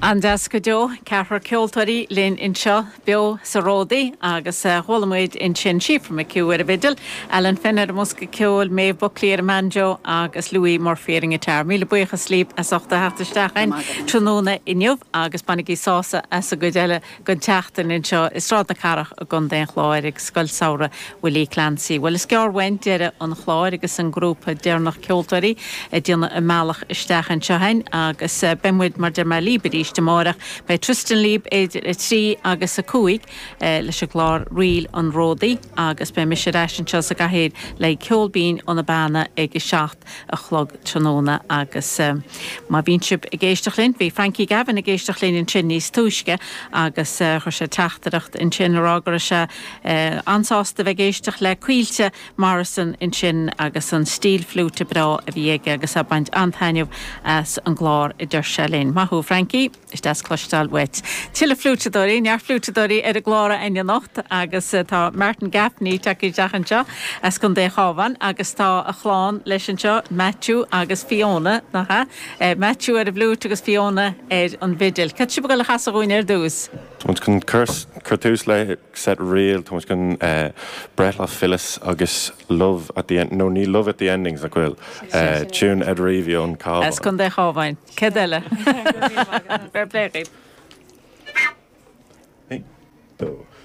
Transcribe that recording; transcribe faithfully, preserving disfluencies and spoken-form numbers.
An-deas go deo ceathrar ceoltóirí linn anseo beo sa Ródaí agus chuala muid ansin Síofra McHugh ar an bhfidil, Alan Finn ar an mbosca ceoil, Maeve Buckley ar an mbanjo agus Louis Murphy ar an ngiotár. Míle buíochas libh as ucht a theacht isteach an tráthnóna inniu agus bainigí sásamh as an gcuid eile den tseachtain anseo i Sráid na Cathrach i gContae an Chláir ag Scoil Samhraidh Willie Clancy. Well is gearr uainn deireadh an chláir agus an grúpa deireanach ceoltóirí ag déanamh a mbealach isteach anseo againn agus beidh muid mar deir mé libh arís amárach Beidh Tristan libh idir a trí agus a cúig leis an gclár Ríl an Ródaí agus beidh mise ar ais anseo sa gcathaoir le ceol binn ó na Beanna ag a seacht a chlog tráthnóna agus má bhíonn sibh ag éisteacht linn, bhí Frankie Gavin ag éisteacht linn ansin níos túisce agus chuir sé teachtaireacht ansin rá go raibh sé an-sásta bheith ag éisteacht le Caoilte Morrison ansin agus an stíl fliúite breá a bhí aige agus ag baint an-taitneamh as an gclár a deir sé linn. Maith thú Frankie, is deas cloisteáil uait. Tuilleadh fliúiteadóirí, neart fliúiteadóirí ar an gclár anocht agus tá Martin Gaffney tagtha isteach anseo as Contae an Chabháin agus tá a chlann leis anseo Matthew agus Fiona nach ea? Matthew ar an bhfliúit agus Fiona ar an bhfidil. Cad sibh le chasadh dúinn ar dtús? Tá chun cur tús le set ríl tá chun Breithlá Phyllis agus Love at the end no ní Love at the Endings a bhfuil tune Ed Reavy ón Cabhán. As Contae an Chabháin. Cad eile? Fair play. Dó.